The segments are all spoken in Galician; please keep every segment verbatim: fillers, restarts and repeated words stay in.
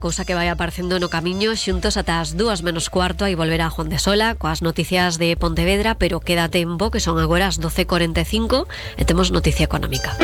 Cousa que vai aparecendo no camiño, xuntos ata as dúas menos cuarto, aí volverá Juan de Sola coas noticias de Pontevedra, pero queda tempo, que son agora as doce e cuarenta e cinco, e temos noticia económica.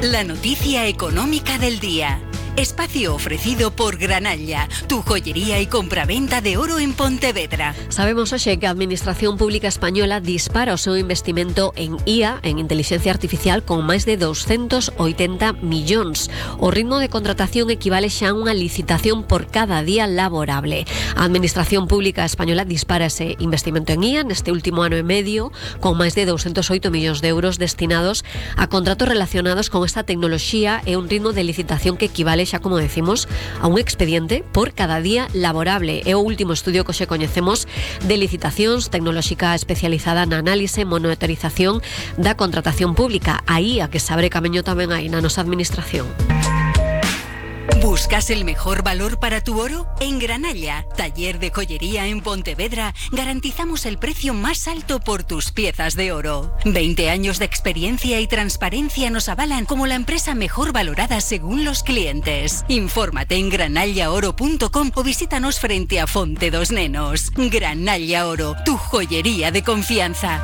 La noticia económica del día. Espacio ofrecido por Granalla, tu joyería y compraventa de oro en Pontevedra. Sabemos hoxe que a Administración Pública Española dispara o seu investimento en I A, en Inteligencia Artificial, con máis de doscientos oitenta millóns. O ritmo de contratación equivale xa a unha licitación por cada día laborable. A Administración Pública Española dispara ese investimento en I A neste último ano e medio, con máis de doscientos oito millóns de euros destinados a contratos relacionados con esta tecnoloxía e un ritmo de licitación que equivale xa, como decimos, a un expediente por cada día laborable. É o último estudio que xe coñecemos de licitacións tecnolóxica especializada na análise e monitorización da contratación pública. Aí a que se abre camiño tamén aí na nosa administración. ¿Buscas el mejor valor para tu oro? En Granalla, taller de joyería en Pontevedra, garantizamos el precio más alto por tus piezas de oro. veinte años de experiencia y transparencia nos avalan como la empresa mejor valorada según los clientes. Infórmate en granalla oro punto com o visítanos frente a Fonte dos Nenos. Granalla Oro, tu joyería de confianza.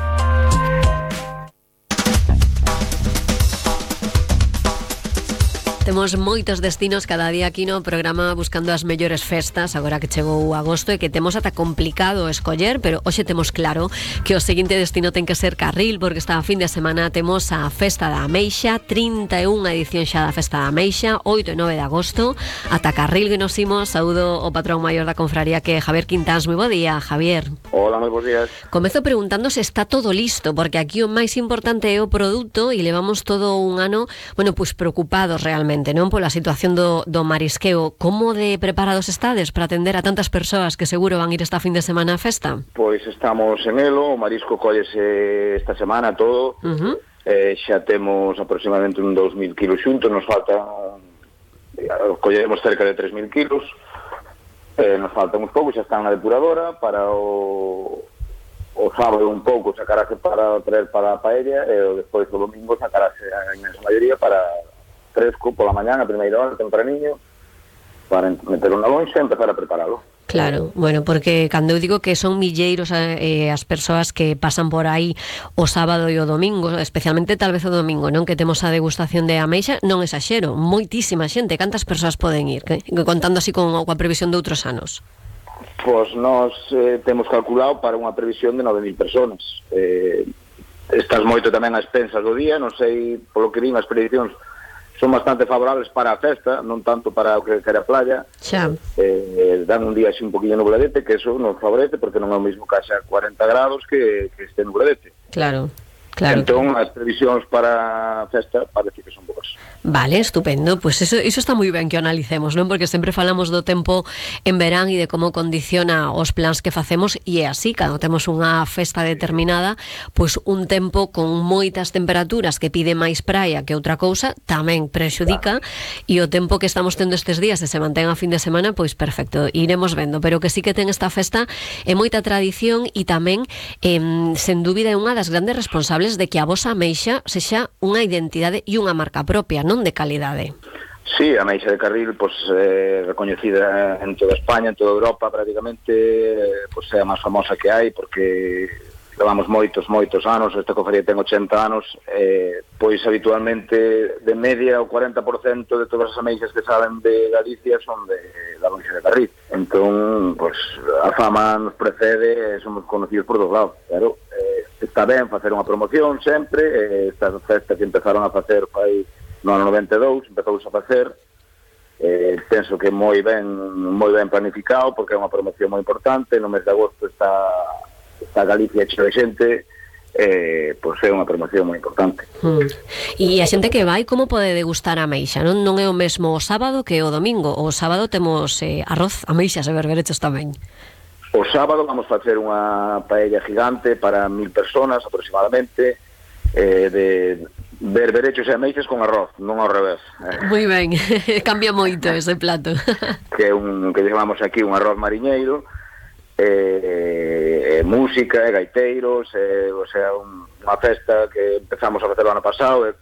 Temos moitos destinos cada día aquí no programa buscando as mellores festas, agora que chegou agosto e que temos ata complicado escoller, pero hoxe temos claro que o seguinte destino ten que ser Carril, porque esta fin de semana temos a Festa da Ameixa, trinta e unha edición xa da Festa da Ameixa, oito e nove de agosto, ata Carril que nos imos. Saúdo o patrón maior da confraría, que é Javier Quintáns. Moi bo día, Javier. Hola, moi bons días. Comezo preguntando se está todo listo, porque aquí o máis importante é o produto e levamos todo un ano, bueno, pois preocupados realmente, non, pola situación do, do marisqueo. Como de preparados estades para atender a tantas persoas que seguro van ir esta fin de semana á festa? Pois estamos en elo, o marisco collese esta semana todo, uh-huh. eh, xa temos aproximadamente un dos mil kilos xuntos, nos falta, colleremos cerca de tres mil kilos, eh, nos falta uns poucos, xa están na depuradora, para o, o sábado un pouco sacarase para traer para a paella, e despois o domingo sacarase a inmensa maioría para fresco pola mañán, a primeira hora, tempraniño, para meterlo na lonxa e empezar a preparalo. Claro, bueno, porque cando eu digo que son milleiros eh, as persoas que pasan por aí o sábado e o domingo, especialmente tal vez o domingo, non, que temos a degustación de ameixa, non exaxero, moitísima xente. Cantas persoas poden ir? Que, contando así con a previsión de outros anos. Pois nós eh, temos calculado para unha previsión de nove mil personas. Eh, estás moito tamén ás pensas do día, non sei, polo que din as predicións son bastante favorables para a festa, non tanto para o que quere a playa. Xa. Eh, dan un día así un poquinho nubladete, que eso nos favorece, porque non é o mismo que haxa cuarenta grados que, que este nubladete. Claro. Claro. Entón, as previsións para a festa parece que son boas. Vale, estupendo. Pois pues eso, eso está moi ben que o analicemos, non? Porque sempre falamos do tempo en verán e de como condiciona os plans que facemos, e é así, cando temos unha festa determinada, pois pues un tempo con moitas temperaturas que pide máis praia que outra cousa, tamén prexudica, claro. E o tempo que estamos tendo estes días, se se mantén a fin de semana, pois perfecto, iremos vendo, pero que sí que ten esta festa é moita tradición e tamén, eh, sen dúbida, é unha das grandes responsables de que a vosa ameixa sexa unha identidade e unha marca propia, non de calidade. Sí, a ameixa de Carril, pues, eh, recoñecida en toda España, en toda Europa prácticamente, eh, pues, é a máis famosa que hai, porque levamos moitos, moitos anos, esta cofradía ten ochenta anos, eh, pois habitualmente de media o cuarenta por cento de todas as ameixas que salen de Galicia son de da ameixa de Carril. Entón, pues, a fama nos precede e somos conocidos por dos lados, claro. Eh, está ben facer unha promoción sempre, eh, esta festa que empezaron a facer fai no ano noventa e dous, empezouse a facer, eh, penso que moi ben moi ben planificado, porque é unha promoción moi importante. No mes de agosto está está Galicia cheo de xente, eh, pois é unha promoción moi importante. Hmm. E a xente que vai, como pode degustar a ameixa? Non, non é o mesmo o sábado que o domingo. O sábado temos eh, arroz, ameixas e berberechos tamén. O sábado vamos facer unha paella gigante para mil personas aproximadamente, eh, de berberechos e ameixas con arroz, non ao revés. Eh. Moi ben, cambia moito ese plato. Que é un que chamamos aquí un arroz mariñeiro, eh, eh, música, e gaiteiros, eh, o sea, un, unha festa que empezamos a facer o ano pasado, e